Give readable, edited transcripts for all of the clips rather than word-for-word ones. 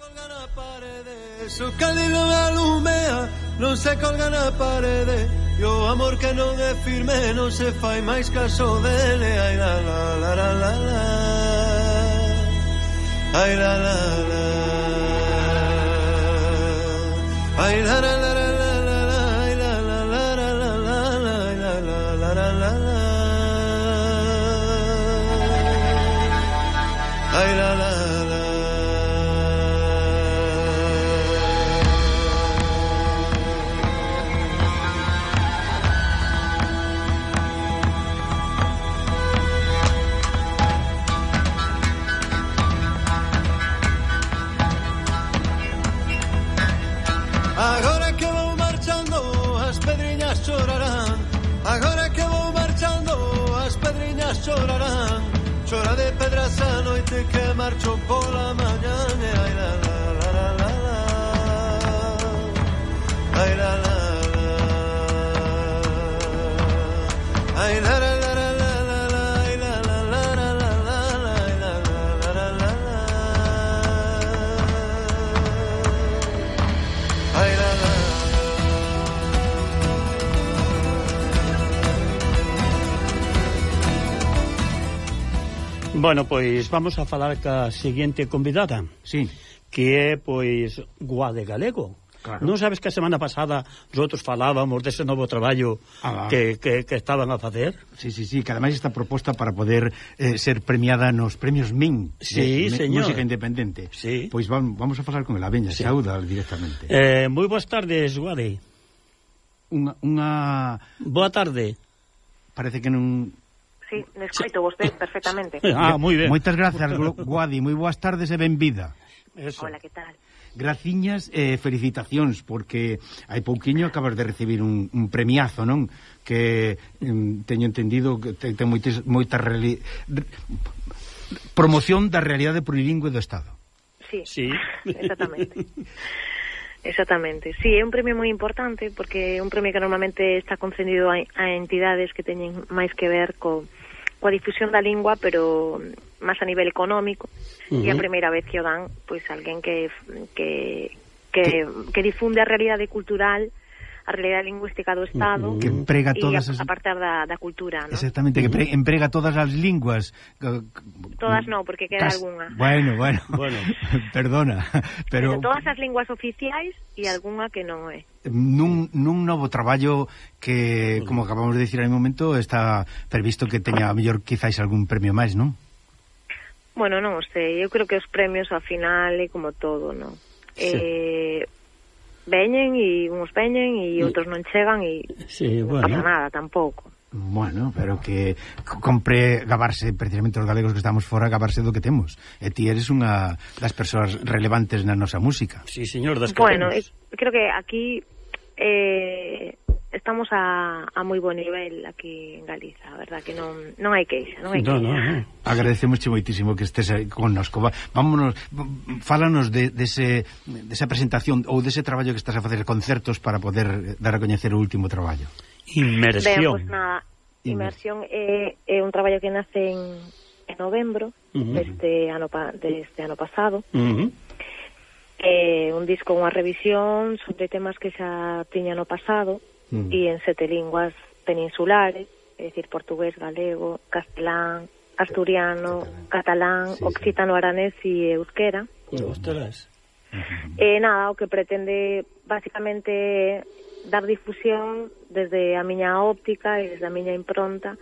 colga na parede, su candilo alumea, non se colga na parede, e o amor que non é firme non se fai máis caso dele. Ai la la la la la la, ai la la la, ai la la la la la la, ai la la la la la la, ai la la la la la la, ai la la. Agora que vou marchando, as pedriñas chorarán. Agora que vou marchando, as pedriñas chorarán. Chora de pedras a noite que marcho pola mañá. Ai la la la la la la, ai la la la, ai la la la la la la, ai la la la la la la, ai la la la la la la, ai la la. Bueno, pois vamos a falar ca seguinte convidada. Sí. Que é, pois, Guade Galego. Claro. Non sabes que a semana pasada nosotros falábamos dese novo traballo que estaban a facer? Sí, que ademais está proposta para poder ser premiada nos premios MIN, sí, señor. Música Independente. Sí. Pois vamos a falar con ela, veña, sí. Sauda directamente. Moi boas tardes, Guade. Boa tarde. Parece que non... Sí, me escoito vostede perfectamente. Moi ben. Moitas grazas, Guadi, moi boas tardes e benvida. Eso. Hola, que tal? Graciñas e felicitacións, porque hai pouquiño acabas de recibir un premiazo, non? Que teño entendido que ten moita promoción da realidade plurilingüe do Estado. Sí. Exactamente. Exactamente. Sí, é un premio moi importante, porque é un premio que normalmente está concedido a entidades que teñen máis que ver coa difusión da lingua, pero máis a nivel económico. E a primeira vez que o dan, pois alguén que difunde a realidade cultural, a realidade lingüística do Estado, que emprega todas a partir da cultura, ¿no? Exactamente, que emprega todas as linguas. Todas non, porque queda algunha. Bueno, perdona, pero todas as linguas oficiais e algunha que non é. Nun novo traballo que, como acabamos de dicir hai un momento, está previsto que teña a mellor quizáis algún premio máis, non? Bueno, non sei, eu creo que os premios ao final é como todo, non? Sí. Veñen e uns veñen e outros non chegan e non pasa nada tampouco. Bueno, pero que compre gabarse, precisamente os galegos que estamos fora, gabarse do que temos. E ti eres unha das persoas relevantes na nosa música. Sí, señor, das que bueno, temos. Creo que aquí estamos a moi bo nivel aquí en Galiza, a verdad que non hai queixa, non hai queixa. No. Agradecemosche moitísimo que estés aí connosco. Vámonos, fálanos desa presentación ou dese traballo que estás a facer, concertos para poder dar a coñecer o último traballo. Inmersión. Ben, pues nada, Inmersión é un traballo que nace en novembro deste ano pasado. Un disco, unha revisión sobre temas que xa tiña no pasado e en 7 linguas peninsulares, é dicir, portugués, galego, castelán, asturiano, catalán, occitano, aranés e euskera. Ostras. Nada, o que pretende basicamente dar difusión desde a miña óptica e desde a miña impronta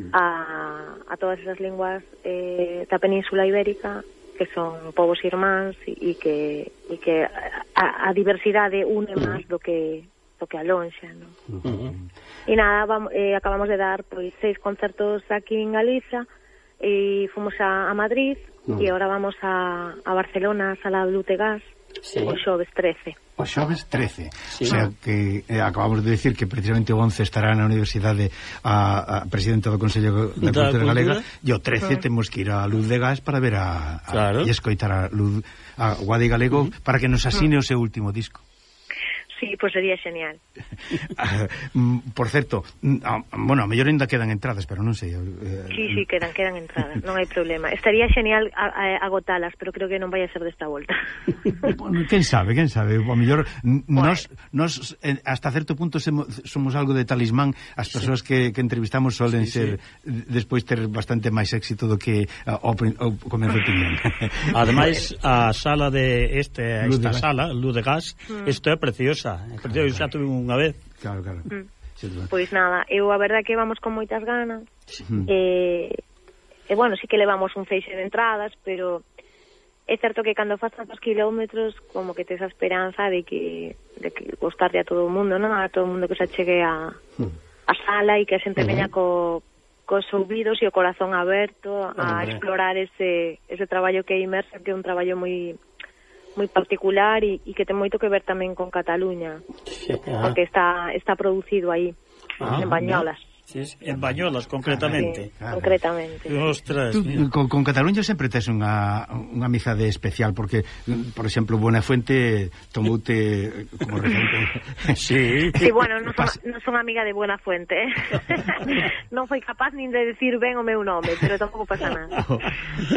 a todas esas linguas da Península Ibérica, que son povos irmáns e que a diversidade une máis do que alonxa, non? E nada, acabamos de dar pois 6 concertos aquí en Galiza e fomos a Madrid e agora vamos a Barcelona, a Sala Lutegas, o xoves 13. O xoves 13, sí. O sea que acabamos de decir que precisamente o 11 estará na Universidade a presidenta do Consello da Cultura Galega, e o 13 temos que ir a Luz de Gas para ver e escoitar a Guade Galego para que nos asine o seu último disco. Sí, pois sería genial. Por certo, bueno, a mellor ainda quedan entradas, pero non sei. Sí, quedan entradas, non hai problema. Estaría genial agotalas, pero creo que non vai a ser desta volta. Bueno, quen sabe, a mellor nos hasta certo punto somos algo de talismán. As persoas que entrevistamos solen ser despois ter bastante máis éxito do que o comezo tiñan. Ademais, a sala de esta sala, Luz de Gas, isto é preciosa. Eu xa tuve unha vez. Claro. Pois nada, eu a verdade que vamos con moitas ganas. E bueno, sí que levamos un feixe de entradas, pero é certo que cando faz tantos kilómetros como que tes a esperanza de que gustarle a todo o mundo, non? A todo o mundo que se achegue a sala e que a xente veña cos ouvidos e o corazón aberto a explorar ese traballo que é Imersa, que é un traballo moi particular e que ten moito que ver tamén con Cataluña, porque está producido aí en Bañolas. Sí, en Bañolas, concretamente. Sí, concretamente. Ostras. Con Cataluña sempre tes unha amizade especial, porque, por exemplo, Buenafuente tomoute como referente. Sí, bueno, non son amiga de Buenafuente, non foi capaz nin de decir ben o meu nome, pero tampouco pasa nada.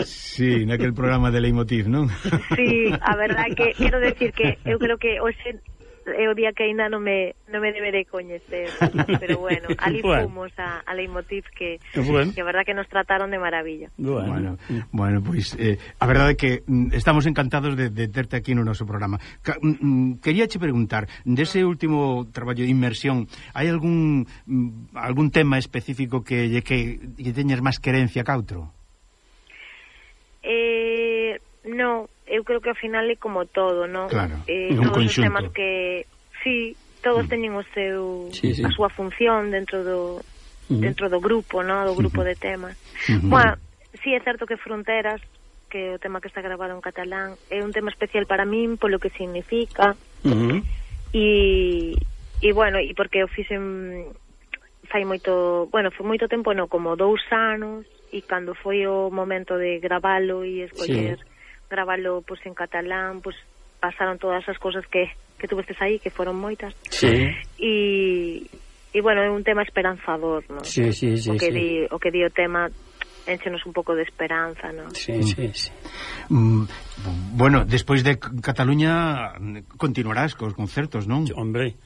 Sí, naquel programa de Leitmotiv, non? Sí, a verdade que quero decir que eu creo que hoxe é o día que ainda non me debe de coñecer, pero bueno, ali fomos a Leitmotiv que a verdad que nos trataron de maravilla. Bueno, pois a verdade é que estamos encantados de terte aquí no noso programa. Queríache preguntar, dese último traballo de inmersión, hai algún tema específico que teñas máis querencia ca outro? No, eu creo que ao final é como todo, non? Claro, todos os temas que todos teñen o seu a súa función dentro do grupo, non? Do grupo de temas. Bueno, é certo que Fronteras, que é o tema que está grabado en catalán, é un tema especial para min polo que significa. E bueno, e porque o fixen foi moito tempo, non, como 2 anos, e cando foi o momento de gravalo e escoller gravalo pois en catalán, pois pasaron todas as cousas que tuvestes aí, que foron moitas. E bueno, é un tema esperanzador, non? O que di o tema énchenos un pouco de esperanza, non? Bueno, despois de Cataluña continuarás cos concertos, non? Hombre,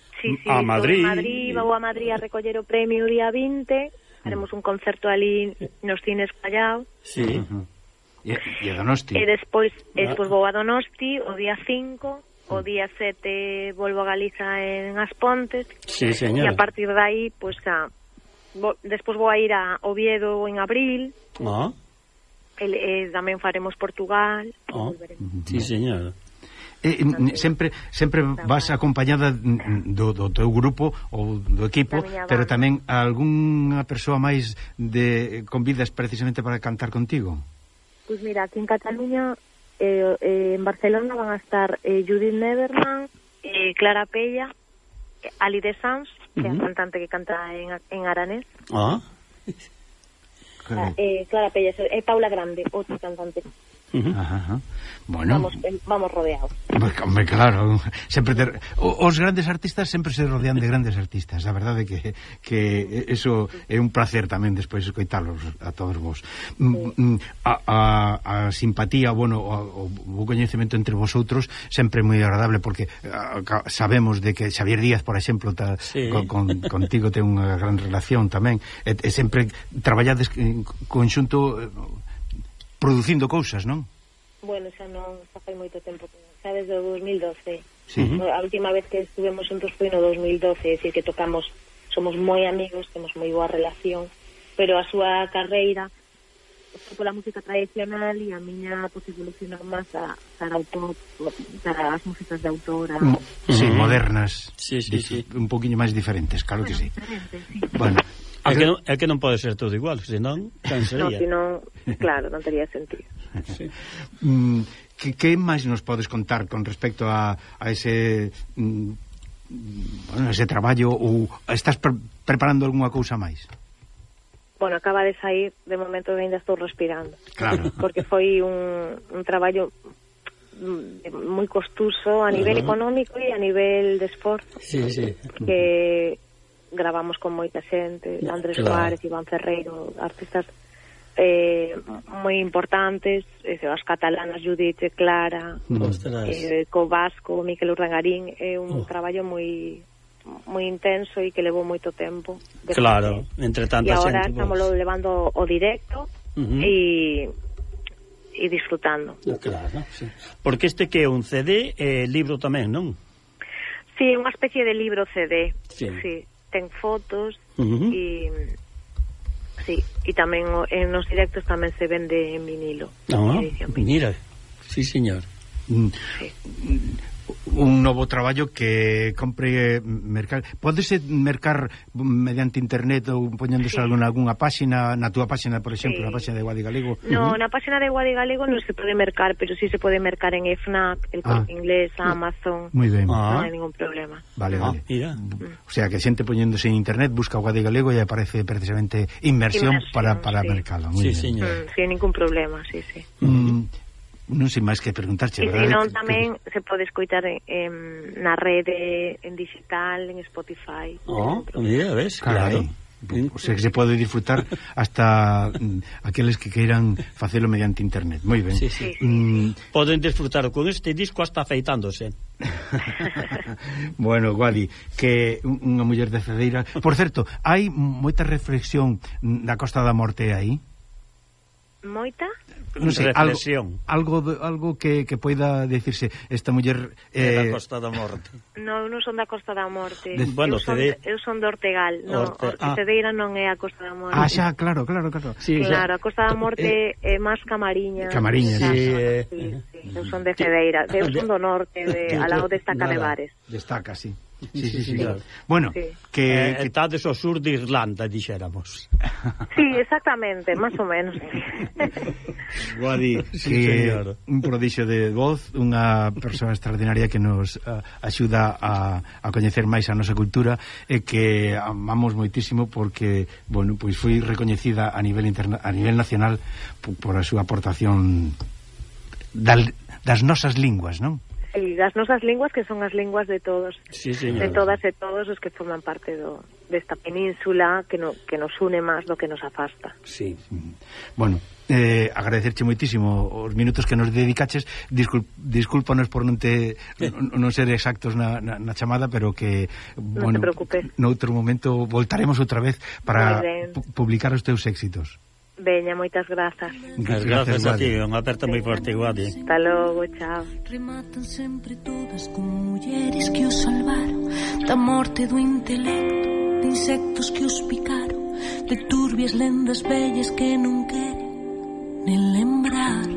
a Madrid. Vou a Madrid a recoller o premio o día 20, haremos un concerto ali nos cines Callao. E a Donosti. E despois vou a Donosti o día 5, o día 7 volvo a Galiza en As Pontes. E a partir de aí, pois despois vou a ir a Oviedo en abril. Tamén faremos Portugal. Sí, señor. Sempre vas acompañada do teu grupo ou do equipo, pero tamén algunha persoa máis convidas precisamente para cantar contigo? Pois mira, aquí en Cataluña, en Barcelona van a estar Judith Neverman, Clara Pella, Ali de Sans, que é a cantante que canta en aranés. Clara Pella, é Paula Grande, outra cantante. Bueno, vamos rodeados. Hombre, claro, sempre os grandes artistas sempre se rodean de grandes artistas. A verdade é que eso é un placer tamén despois escoitalos a todos vos. A simpatía, bueno, o coñecemento entre vosotros sempre é moi agradable, porque sabemos de que Xavier Díaz, por exemplo, contigo ten unha gran relación tamén, e sempre traballades en conxunto producindo cousas, non? Bueno, xa fai moito tempo, xa desde o 2012. A última vez que estuvemos juntos foi no 2012, é dicir que tocamos, somos moi amigos, temos moi boa relación, pero a súa carreira foi pola música tradicional e a miña pues, evolucionou máis para as músicas de autora. Modernas. Un poquinho máis diferentes, claro que sí. Bueno, é que non pode ser todo igual, senón cansaría. Claro, non tería sentido. Que máis nos podes contar con respecto a ese ese traballo, ou estás preparando algunha cousa máis? Bueno, acaba de sair, de momento ainda estou respirando. Claro. Porque foi un traballo moi costoso a nivel económico e a nivel de esforzo. Sí. Que gravamos con moita xente, Andrés Suárez, Iván Ferreiro, artistas moi importantes, as catalanas Judith e Clara, co vasco Miquel Urdangarín. É un traballo moi intenso e que levou moito tempo. Claro, entre tanta xente. E agora estamos levando o directo e disfrutando. Claro, sí. Porque este que é un CD libro tamén, non? Sí, unha especie de libro CD. Sí. Ten fotos e tamén nos directos tamén se vende en vinilo. Mira, sí, señor. Sí. Un novo traballo que compre mercar. Pódese mercar mediante internet ou poñéndose algunha páxina, na túa páxina, por exemplo, na páxina de Guadi Galego? No, na páxina de Guadi Galego non se pode mercar, pero sí se pode mercar en FNAC, el Corte Inglés, Amazon. Moi ben. Non hai ningún problema. Vale. Mira. O sea, que xente poñéndose en internet busca Guadi Galego e aparece precisamente inmersión para mercalo. Sí, señor. Sin ningún problema, sí. Non sei máis que preguntarche, e senón tamén se pode escoitar na rede, en digital, en Spotify. Mira, ves, claro. O sea, que se pode disfrutar hasta aqueles que queiran facelo mediante internet. Moi ben. Sí. Poden disfrutar con este disco hasta afeitándose. Bueno, Guadi, que unha muller de Cedeira. Por certo, hai moita reflexión da Costa da Morte aí? Moita? Non sei, reflexión. Algo que poida decirse esta muller da Costa da Morte. Non son da Costa da Morte. Eu son de Ortegal. Cedeira non é a Costa da Morte. Xa, claro. Sí, claro, a Costa da Morte é máis Camariña. Sí. Eu son de Cedeira. Eu son do norte, ao lado de Estaca de Bares. Destaca, sí. Sí. Bueno, que estades ao sur de Irlanda, dixéramos. Sí, exactamente, máis ou menos. Guadi, un prodixio de voz, unha persoa extraordinaria que nos axuda a coñecer máis a nosa cultura e que amamos moitísimo porque, bueno, pois foi recoñecida a nivel nacional por a súa aportación das nosas linguas, non? Sí, das nosas linguas, que son as linguas de todos, de todas e todos os que forman parte desta península que nos une máis do que nos afasta. Sí. Bueno, agradecerche moitísimo os minutos que nos dedicaches. Discúlpanos por non ser exactos na chamada, pero que, bueno, non te preocupes, noutro momento voltaremos outra vez para publicar os teus éxitos. Veña, moitas grazas. Grazas a ti, unha aperta moi forte, Guadi. Hasta logo, chao. Rematan sempre todas como mulleres que os salvaron da morte do intelecto, de insectos que os picaron, de turbias lendas vellas que non queren nen lembrar.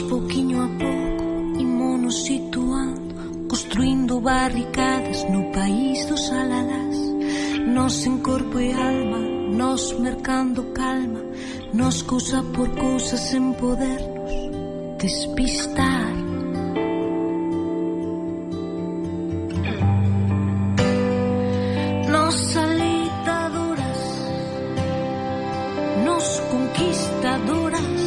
Pouquiño a pouco imonos situando, construindo barricadas no país dos alalás. Nos en corpo e alma, nos mercando calma, nos cousa por cousa sen podernos despistar. Nos alitadoras, nos conquistadoras,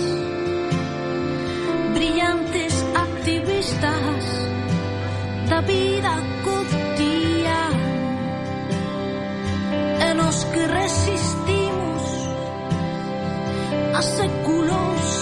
brillantes activistas da vida cotidiana, e nos que resistimos a séculos